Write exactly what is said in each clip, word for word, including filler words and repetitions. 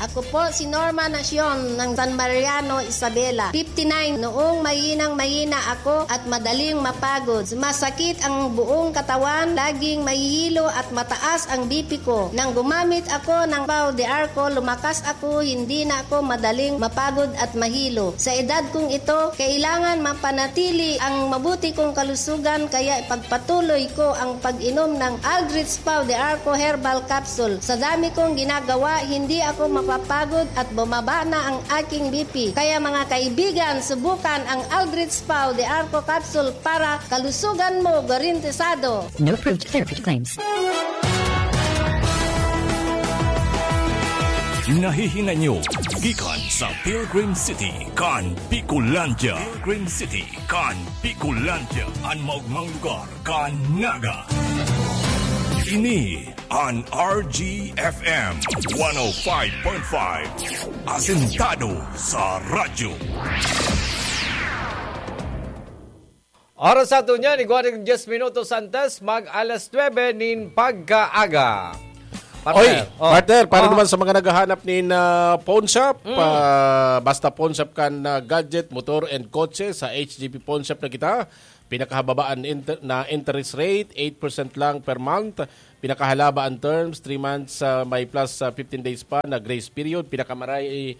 Ako po si Norma Nacion ng San Mariano, Isabela, fifty-nine. Noong mahinang-mahina ako at madaling mapagod, masakit ang buong katawan, laging mahihilo at mataas ang B P ko. Nang gumamit ako ng Pau de Arco, lumakas ako, hindi na ako madaling mapagod at mahilo. Sa edad kong ito, kailangan mapanatili ang mabuti kong kalusugan, kaya ipagpatuloy ko ang pag-inom ng Aldrich Pau de Arco Herbal Capsule. Sa dami kong ginagawa, hindi ako mapapagod at bumaba na ang aking B P. Kaya mga kaibigan, subukan ang Aldrich Pau de Arco Capsule para kalusugan mo garantisado. No approved therapy claims. Nahihinga nyo gikan sa Pilgrim City kan Bicolandia. Pilgrim City kan Bicolandia, an maogmang lugar kan Naga. Ini an R G F M one oh five point five, asentado sa radyo. Oras sa ato niyan, igwa ning diyes minutos antes mag alas nuebe nin pagkaaga. Oy, Partner, oh. Partner, para Ah. naman sa mga naghahanap nin, ah, pawn shop, Mm. pa, basta pawn shop kan, ah, gadget, motor, and kotse, sa H G P Pawn Shop na kita. Pinakahababaan inter-, na interest rate, eight percent lang per month. Pinakahalaba ang terms, three months, ah, may plus, ah, fifteen days pa na grace period. Pinakamaray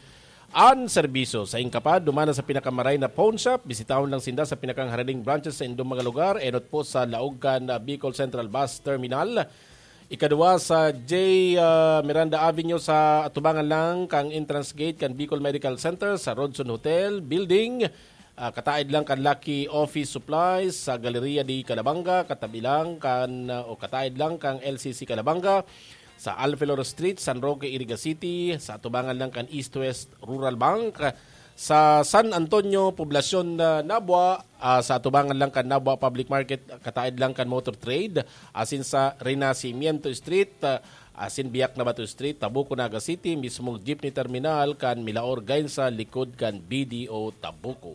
an serbisyo. Sain ka pa, dumana sa pinakamaray na pawn shop, bisitahon lang sinda sa pinakang haraning branches sa indong mga lugar, enot po sa laog kan, ah, Bicol Central Bus Terminal. Ikaduwa sa J, ah, Miranda Avenue sa atubangan lang kang entrance gate kan Bicol Medical Center, sa Rodson Hotel Building. Ah, kataid lang kan Lucky Office Supplies, sa Galleria de Calabanga, katabi lang kan, ah, o kataid lang kang L C C Calabanga, sa Alfelor Street, San Roque, Iriga City, sa atubangan lang kan East West Rural Bank, sa San Antonio, Poblacion, ah, Nabua, ah, sa atubangan lang kan Nabua Public Market, kataid lang kan Motor Trade, asin sa Renacimiento Street, ah, asin Biak na Bato Street, Tabuco, Naga City, mismong jeepney terminal kan Milaor, Gainza, likod kan B D O Tabuco.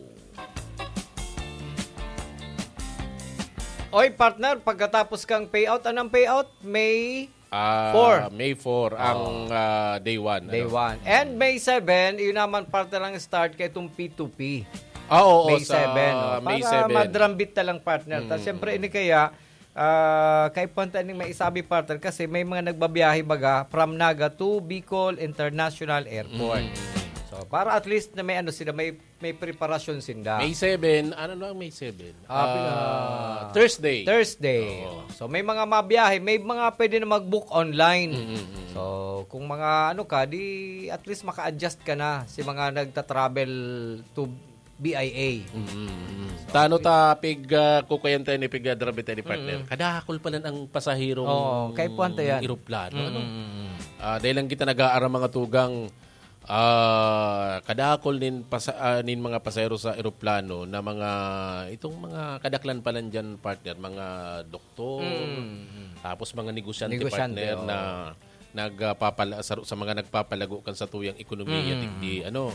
Oy, partner, pagkatapos kang payout, anong payout? May Ah, four. May four ang, Oh. ah, day one, Day ano? one. And May seven, yun naman, partner, ang start kay itong P two P. Ah, oo, May sa seven, no? May Para seven. madrambit na lang, partner. Tas, Mm. siyempre, ini kaya, ah, kaipuhan ta ning maisabi, partner, kasi may mga nagbabiyahe, baga, from Naga to Bicol International Airport. Mm. So, para at least na may ano sila, may, may preparasyon sinda. May seven, ano na ang May seven? Ah, Ah, pina- Thursday. Thursday. Oo. So, may mga mabiyahe, may mga pwede na mag-book online. Mm, mm, mm. So, kung mga ano ka, di at least maka-adjust ka na si mga nagta-travel to B I A. Mm, mm, mm. So, Tano okay. ta pig, ah, kukuyan tayo ni pig, ah, drabe tayo ni partner. Mm. Kadakol pa lang ang pasahero Oo, ng kaipuhan ta yan. eroplano, Mm, ano? mm, mm. Ah, dahil lang kita nag-aaram mga tugang, ah, kadakol nin pasa-, ah, nin mga pasahero sa eroplano na mga, itong mga kadaklan pa lang dyan, partner, mga doktor, Mm, mm. tapos mga negosyante, Negosyante, partner, oo. na nagpapala-, sa, sa mga nagpapalago kan satuyang ekonomiya, Mm. digdi, ano.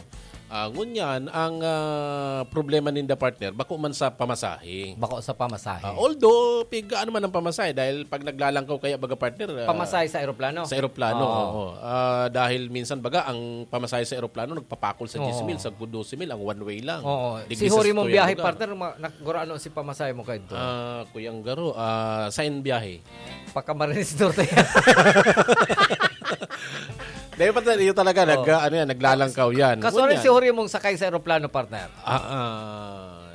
Ah, ngunyan, ang, ah, problema ninda, partner, bako man sa pamasahe. Bako sa pamasahe. Ah, although, pig, ano man ang pamasahe, dahil pag naglalangkaw kaya, baga, partner, ah, Pamasahe sa eroplano? sa eroplano, Oo. oo. Ah, dahil minsan, baga, ang pamasahe sa eroplano, nagpapakol sa Oo. diyes mil, sa dose mil, ang one way lang. Oo. Digdi Si sa Huri mong satuyang biyahe, lugar. partner, ma-, nak-, gurano si pamasahe mo kayo? Ah, Kuyang Garo, ah, saan biyahe? Pagka-Marinestor tayo. Dahil pa tayo, yun talaga, Oo. nag-, ano yan, naglalangkaw yan. Kaso rin Ngunyan. si Huri mong sakay sa eroplano, partner? Ah, ah,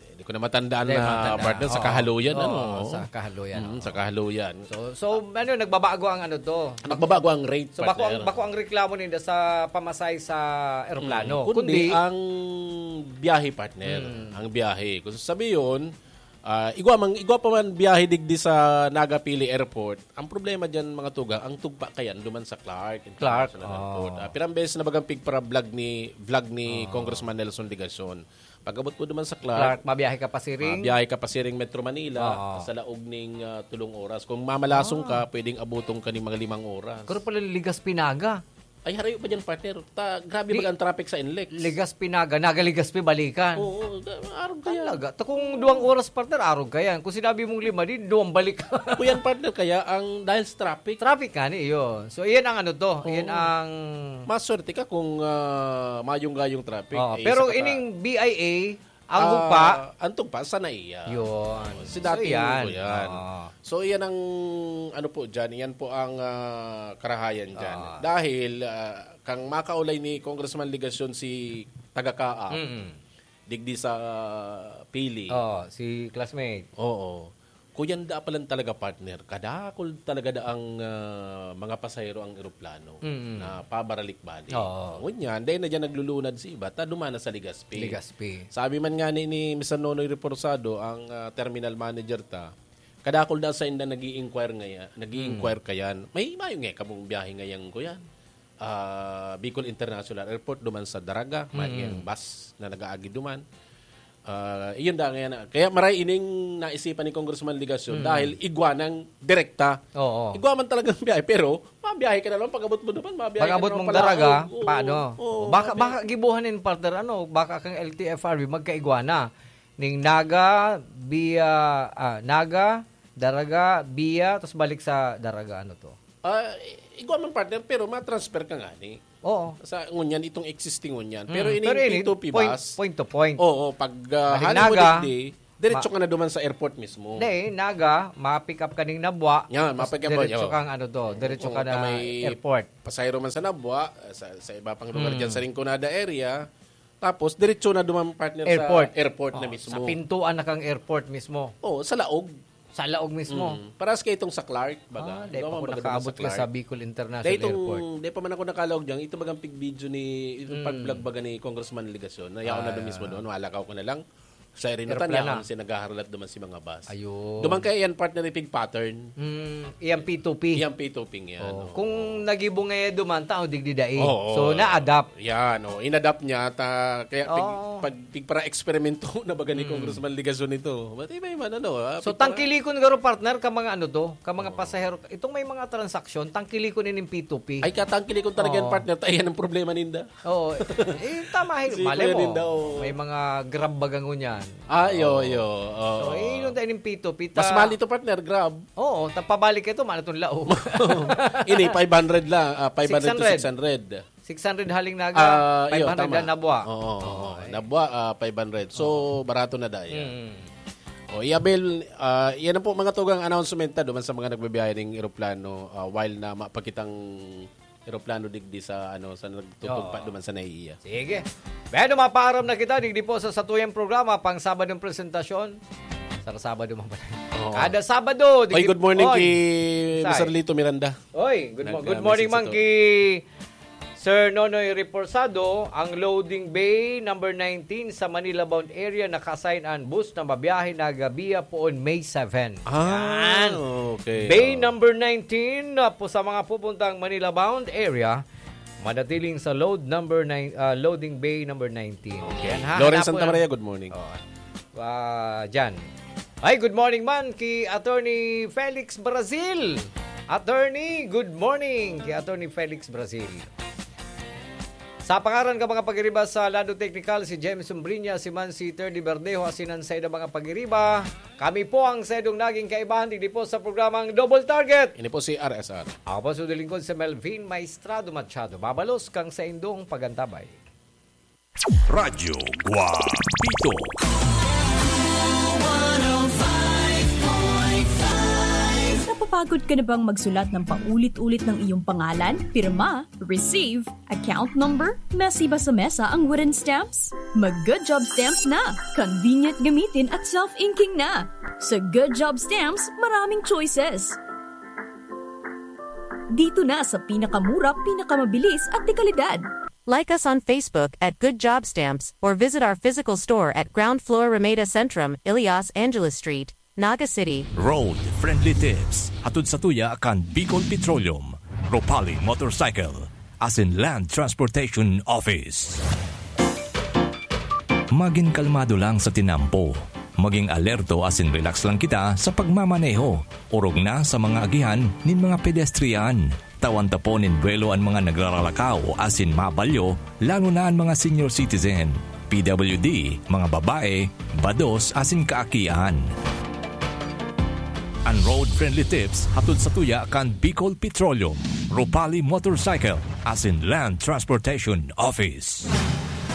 hindi ko na matandaan Hindi, na, matandaan. partner, sa Oo. Kahaluyan, Oo, ano? sa Kahaluyan, Mm, oo. sa Kahaluyan. So, so, ano, nagbabago ang ano to? Nagbabago ang rate, So, bako ang, partner. bako ang reklamo ninda sa pamasahe sa eroplano. Mm, kundi Kundi ang biyahe, partner. Mm. Ang biyahe. Kung sasabihin, Ah, igwa man, igwa pa man biyahe digdi sa Naga Pili Airport. Ang problema diyan, mga tugang, ang tugpa kayan duman sa Clark Clark, International Airport. oo. Ah, pirang beses na bagang pigpara-vlog ni, vlog ni Oo. Congressman Nelson Legacion. Pag-abot mo duman sa Clark, Clark, mabiyahe ka pa siring? mabiyahe ka pa siring Metro Manila, Oo. sa laog ning, ah, tulong oras. Kung mamalasong Ah. ka, pwedeng abuton ka ning mga limang oras. Pero pala Ligas Pinaga. Ay, harayo pa dyan, partner. Ta, grabe Di, baga ang traffic sa N L E X. Legazpi, Naga, Naga, Legazpi, balikan. Oo, da-, arog kaya. Talaga? Ta kung duwang oras, partner, arog ka yan. Kung sinabi mong lima, di, duwang balik. Kuyan, partner, kaya ang dahil sa traffic. Traffic ka ni, iyo. So, iyan ang ano to. Oo. Iyan ang Maswerte ka kung, ah, mayong-gayong traffic. Oo, Eh, pero isa ka pa ining B I A, ang Ah, hugpa. Ang tugpa, sa naiya. Yun. Si So, dating yan. Ko yan. Oo. So, yan ang, ano po dyan, yan po ang, ah, karahayan dyan. Oo. Dahil, ah, kang makaulay ni Congressman Legacion si taga-Caap, Mm. digdi sa Pili. Oo, si classmate. Oo. Kuyanda pa lang talaga, partner. Kadakol talaga da ang, ah, mga pasahero ang eroplano Mm. na pabalik-balik. Oo. Ngunyan, dahil na dyan naglulunad si iba, ta dumana sa Legazpi. Legazpi. Sabi man nga ni, ni Mister Nonoy Reforzado, ang, ah, terminal manager ta, kadakol da sa inda nag-i-inquire ngaya-, nag-i-inquire Mm. kayan. May, mayo nga kamong biyahe ngayang kuyan. Ah, Bicol International Airport, duman sa Daraga, may Mm. bus na nag-aagi duman. Ah, iyon da ngayon na. Kaya maray ining naisipan ni Congressman Legacion Mm. dahil igwa ng direkta. Oo. Igwa man talagang biyahe, pero mabiyahe ka na lang, pag-abot mo duman, mabiyahe ka Pag-abot na lang mong palaog. Daraga, Oo, paano? oo, Baka, mabiyahe. baka gibuhan in partner, ano, baka kang L T F R B, magkaigwa na. Ning Naga, via, ah, Naga, Daraga, via, tas balik sa Daraga, ano to? Ah, i-, igwa man, partner, pero ma-transfer ka nga ni. Oo. Sa ngunyan, itong existing ngunyan. Mm, Pero ining pero ini, P two P point, bus, point to point. Oo, pag, ah, Balik hali mo Naga, digdi, diretso ma- ka na duman sa airport mismo. Hindi, Naga, ma-pick up ka ning Nabua, Yan, tas ma-pick up mo, diretso yo. kang ano to, diretso Oo, ka na ka may airport. pasahero man sa Nabua, sa, sa iba pang lugar Mm. dyan sa Rinconada area, tapos diretso na duman, partner, Airport. sa airport na Oo, mismo. sa pintuan na kang airport mismo. Oo, sa laog. Sa laog mismo? Mm. Parehas kayo itong sa Clark, baga. Ah, di Ikaw pa ang ako baga naman nakaabot sa ka sa Clark. Bicol International Dahil itong, Airport. di pa man ako nakalaog dyan, ito bagang pig-video ni, itong Mm. pag-vlog baga ni Congressman Legacion, na yaon na Ah. doon mismo doon, malakaw ko na lang. Sa Erinatan, Aeroplano. yaon siya naghaharlat duman si mga bus. Ayun. Duman kaya yan, partner, ipig pattern. Mm, iyang P two P. Iyang P two P yan, Oh, oo. kung nagibo nga yan duman, tao digdi dai. Oo, So, oo. na-adapt. Yan, oh, inadapt niya, ta, kaya pig-, Oo. pag, pigpara-eksperimento na baga ni Mm. Congressman Legacion ito. Ba't iba-iba na, no? Ah, So, pigpara- tangkilikon garo, partner, ka mga ano to, ka mga Oo. pasahero. Itong may mga transaksyon, tangkilikon ining P two P. Ay, katangkilikon talaga yan, Oo. partner. Ta, yan ang problema ninda. Oo. Eh, tama, eh, Si mali Kuya mo. Ninda, oo. May mga Grab baga ngunyan. Ah, yo, Oo. yo. Oo. So, eh, yun tayo ng P two P, ta- Mas mahal ito, partner, Grab. Oo, tapabalik ito, mana itong laog. Ini, five hundred lang. Ah, five hundred to Six hundred. six hundred. Six hundred haling Naga, Ah, iyo, five hundred tama. lang Nabua. Oo, oo, Oo, oo. eh. Nabua, ah, five hundred. So, Oo. barato na dahil. Mm. O, i-avail, ah, yan na po mga tugang announcement na duman sa mga nagbibiyahe ng eroplano, ah, while na mapakitang eroplano digdi sa, ano, sa nagtutugpa Oo. duman sa naiiya. Sige. Bueno, mapaaram na kita, digdi po sa satuyang programa, pang Sabadong presentasyon. Sa Sabado man pala. Oo. Kada Sabado, Oy, digdi good morning Oy. kay Say. Mister Lito Miranda. Oy, good mo-, Nag, good ah, morning, message man, ito. kay Sir Nonoy Reporsado, ang loading bay number nineteen sa Manila bound area, naka-assign ang bus na mabiyahe na gabi poon May seven. Ah, Yan. okay. Bay Oh. number nineteen, ah, po sa mga pupuntang Manila bound area, manatiling sa load number nine, ah, loading bay number nineteen. Okay. Yan, ha? Lawrence Hanapon Santa Maria, ang good morning. Oh. Ah, dyan. Ay, good morning man ki Attorney Felix Brazil. Attorney, good morning ki Attorney Felix Brazil. Sa pangaran ka mga pagiriba sa Lado Technical, si James Umbriña, si Mansi Terdy Verdejo, asin ang saida mga pagiriba. Kami po ang saidong naging kaibahan digdi po sa programang Double Target. Ini po si R S R. Ako po si lingkod si Melvin Maestrado Machado. Babalos kang saindong pagantabay. Radyo Guapito. Napapagod ka na bang magsulat ng paulit-ulit ng iyong pangalan, pirma, receive, account number? Messy ba sa mesa ang wooden stamps? Mag Good Job Stamps na! Convenient gamitin at self-inking na! Sa Good Job Stamps, maraming choices. Dito na sa pinakamura, pinakamabilis at dekalidad. Like us on Facebook at Good Job Stamps or visit our physical store at ground floor Ramada Centrum, Ilias Angeles Street, Naga City. Road Friendly Tips. Hatod sa tuya kan Bicol Petroleum, Ropali Motorcycle, asin Land Transportation Office. Magin kalmado lang sa tinampo. Maging alerto asin relax lang kita sa pagmamaneho, orog na sa mga agihan nin mga pedestrian. Tawan ta po nin buwelo an mga nagraralakaw asin mabalyo, lalo na an mga senior citizen, P W D, mga babae, bados asin kaakian. An road-friendly tips hatod sa tuya kan Bicol Petroleum, Ropali Motorcycle, asin Land Transportation Office.